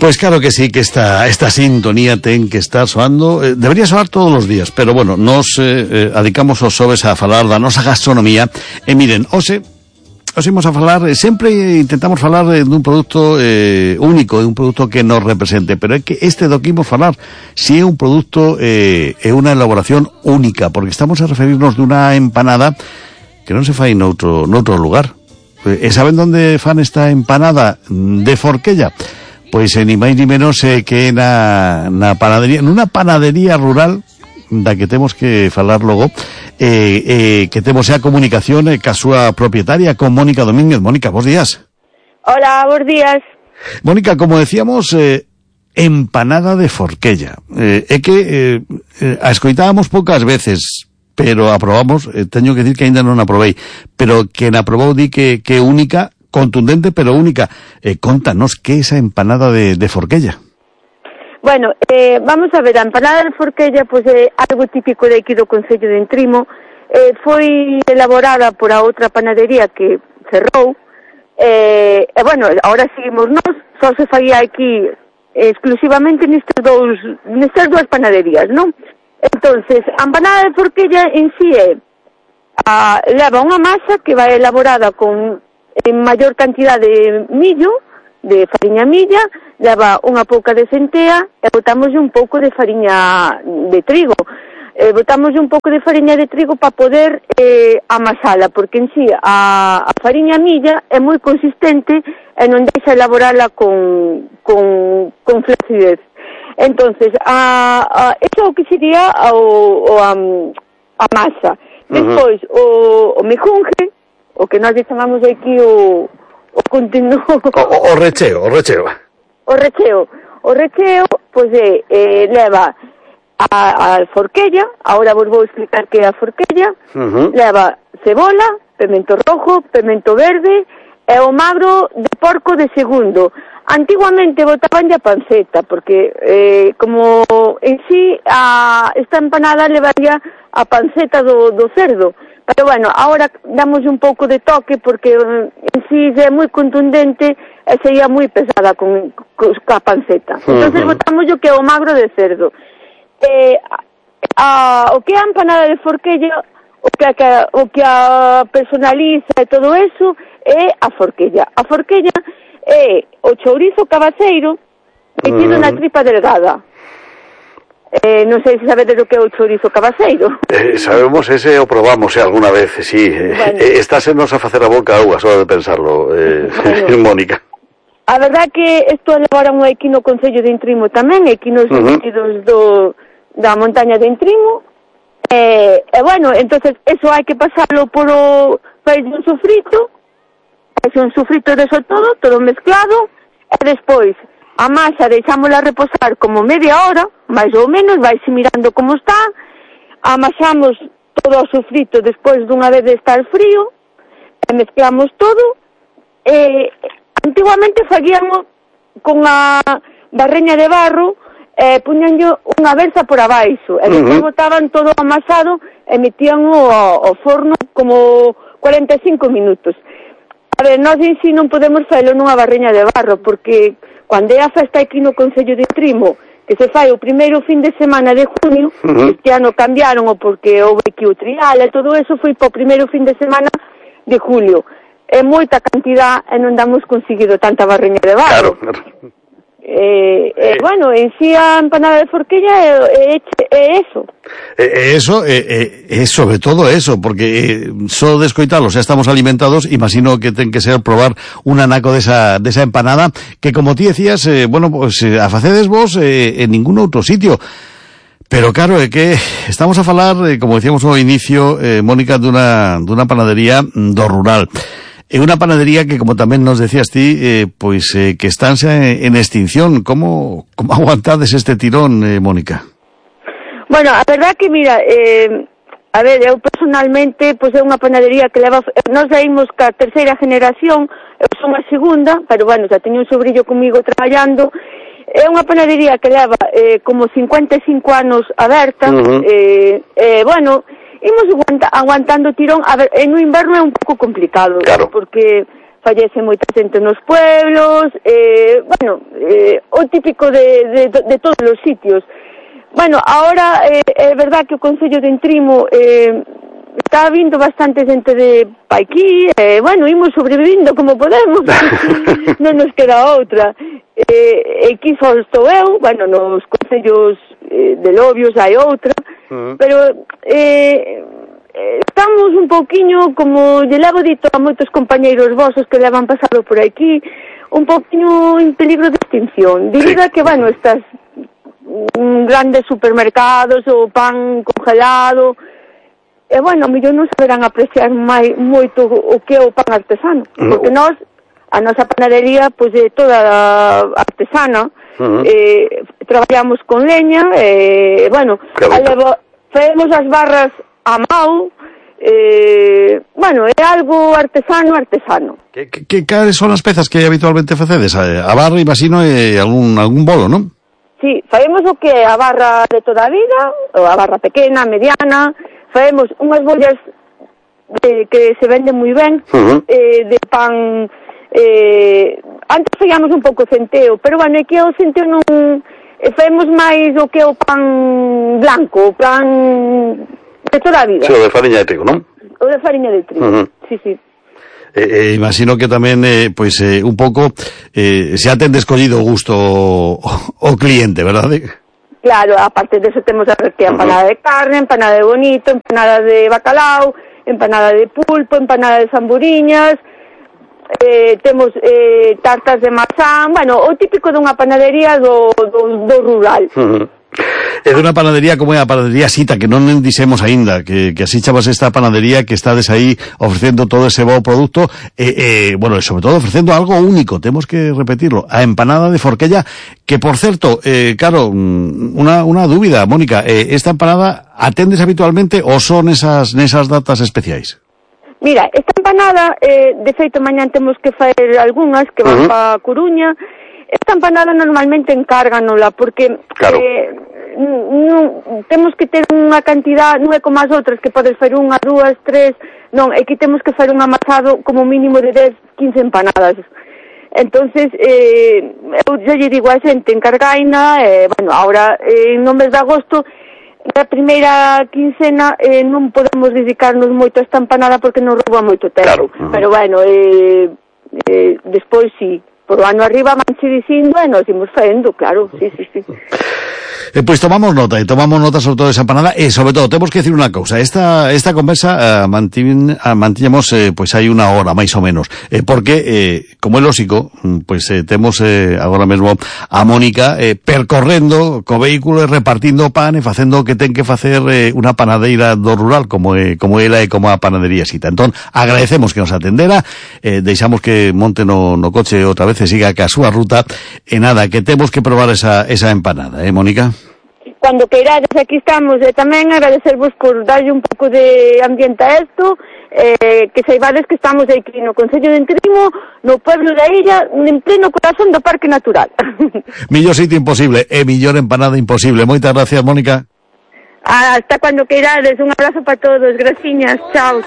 Pues claro que sí, que esta sintonía ten que estar soando, debería soar todos os días, pero bueno, nos adicamos os xoves a falar da nosa gastronomía, e miren, hoxe imos a falar, sempre intentamos falar dun produto único, de un produto que nos represente, pero é que este do que imos falar, si é un produto, é unha elaboración única, porque estamos a referirnos dunha empanada que non se fai noutro lugar. E saben onde fan esta empanada de Forquella? Pois ni máis ni menos que na panadería, nunha panadería rural da que temos que falar logo, que temos a comunicación ca súa propietaria, con Mónica Domínguez. Mónica, bons días. Hola, bons días. Mónica, como decíamos, empanada de Forquella. É que a escoitábamos poucas veces, pero aprobamos, teño que dicir que aínda non a probei, pero que na probou di que é única, contundente pero única. Contanos que é esa empanada de Forquella. Bueno, vamos a ver, a empanada de Forquella pois é algo típico de aquí do Concello de Entrimo. Foi elaborada por a outra panadería que cerrou, bueno, ahora seguimos nós, só se faía aquí exclusivamente nestas dúas panaderías, non? Entonces, a empanada de Forquella en sí leva unha masa que vai elaborada con en maior cantidad de millo, de fariña milla, leva unha pouca de centea e botamos un pouco de fariña de trigo. Botamos un pouco de fariña de trigo para poder amasala, porque en sí a fariña milla é moi consistente e non deixa elaborala con flacidez. Entonces, eso o que sería a masa. Despois, o mejunje, o que nós chamamos aquí o continuo... O recheo. O recheo, pois leva a Forquella, ahora vos vou explicar que é a Forquella, leva cebola, pemento rojo, pemento verde e o magro de porco de segundo. Antiguamente botaban a panceta, porque como en sí esta empanada levaría a panceta do cerdo. Pero bueno, ahora damos un pouco de toque porque en sí é moi contundente e sería moi pesada con a panceta. Entonces botamos o que é o magro de cerdo. O que é a empanada de Forquella, o que a personaliza e todo eso é a Forquella. A Forquella é o chourizo cabaceiro metido na tripa delgada. Non sei se sabedes o que é o chourizo cabaceiro. Sabemos ese o probamos alguna vez, sí. Bueno. Estásenos a facer a boca auga só de pensarlo, bueno. Mónica. A verdad que isto elaboran aquí no Concello de Entrimo tamén, aquí nos sentidos da montaña de Entrimo. Bueno, entonces eso hai que pasarlo por o fai un sofrito de eso todo mezclado, e despois a masa deixámola reposar como media hora, máis ou menos, vaise mirando como está, amasamos todo o sofrito despois dunha vez de estar frío, e mezclamos todo, antiguamente facíamos con a barreña de barro, puñanlle unha versa por abaixo, e despois botaban todo amasado e metían ao forno como 45 minutos. A ver, nós en si non podemos faelo nunha barreña de barro, porque cando é a festa aquí no Concello de Entrimo, que se fai o primeiro fin de semana de junio, este ano cambiaron porque houve aquí o trial e todo eso, foi para o primeiro fin de semana de julio. É moita cantidad e non damos conseguido tanta barreña de barro. Claro. Bueno, en sí a empanada de Forquella é eso. Eso, sobre todo eso, porque só de escoitalo xa estamos alimentados, imagino que ten que ser probar un anaco desa empanada, que como ti decías, bueno, pues a facedes vos en ningún outro sitio. Pero claro, é que estamos a falar, como decíamos ao inicio, Mónica, dunha panadería do rural. É unha panadería que, como tamén nos decías ti, pois que estánse en extinción. Como aguantades este tirón, Mónica? Bueno, a verdad que, mira, a ver, eu personalmente, pois é unha panadería que leva... Nós saímos ca terceira generación, eu son a segunda, pero bueno, xa teño un sobrillo comigo traballando. É unha panadería que leva como 55 anos aberta, bueno... Imos aguantando tirón. A ver, en o inverno é un pouco complicado, claro, porque fallece moita xente nos pueblos, o típico de todos os sitios. Bueno, ahora é verdad que o Concello de Entrimo está vindo bastante xente de aquí, imos sobrevivindo como podemos, non nos queda outra. Aquí só estou eu, nos concellos de Lobios hai outra, pero estamos un pouquiño, como lle levo dito a moitos compañeiros vosos que levan pasado por aquí, un pouquiño en peligro de extinción, debido a que, estas grandes supermercados, o pan congelado, mellor non saberán apreciar moito o que é o pan artesano, porque a nosa panadería, pois, é toda artesana, traballamos con leña, facemos as barras a mão, é algo artesano. Cales son as pezas que habitualmente facedes? A barra, imagino, e algún bolo, non? Sí, faemos o que é a barra de toda a vida, ou a barra pequena, mediana, faemos unhas bollas que se venden moi ben, de pan, antes fallamos un pouco centeo, pero é que o centeo non, faemos máis o que é o pan blanco, o pan de toda a vida. Sí, o de fariña de trigo, non? O de fariña de trigo, sí. Imagino que tamén, un pouco, se ha ten descollido o gusto o cliente, verdade? Claro, aparte de eso temos a empanada de carne, empanada de bonito, empanada de bacalao, empanada de pulpo, empanada de zamburiñas, temos tartas de mazán, o típico dunha panadería do rural. É dunha panadería como é a panadería Sita, que non dixemos aínda, que así chamas esta panadería que estades aí ofrecendo todo ese bo produto, e sobre todo ofrecendo algo único, temos que repetirlo, a empanada de Forquella, que por certo, claro, unha dúbida, Mónica, esta empanada atendes habitualmente ou son nesas datas especiais? Mira, esta empanada, de feito mañán temos que facer algunhas que van pa Coruña. Esta empanada normalmente encárganola, porque temos que ter unha cantidad, non é como as outras que podes facer 1, 2, 3, non, aquí temos que facer un amasado como mínimo de 10, 15 empanadas. Entonces, eu lle digo a xente, encargaina, ahora no mes de agosto, na primeira quincena, non podemos dedicarnos moito a esta empanada porque nos rouba moito tempo. Pero despois sí. Por o ano arriba vanche dicindo e nos imos facendo, claro, sí. Pois tomamos nota sobre todo esa empanada, e sobre todo temos que decir unha cousa, esta conversa mantiñamos hai unha hora máis ou menos, porque como é lógico, temos agora mesmo a Mónica percorrendo co vehículo e repartindo pan e facendo o que ten que facer unha panadeira do rural como ela e como a panadería Sita. Entón, agradecemos que nos atendera, deixamos que monte no coche outra vez e siga ca súa ruta, e nada, que temos que probar esa empanada, Mónica? Cuando queirades, aquí estamos, e tamén agradecervos por darlle un pouco de ambiente a isto, que saibades que estamos aquí no Concello de Entrimo, no pueblo da illa, en pleno corazón do Parque Natural. Millor sitio imposible, e millor empanada imposible. Moitas gracias, Mónica. Hasta cuando queirades, un abrazo para todos, graciñas, chao.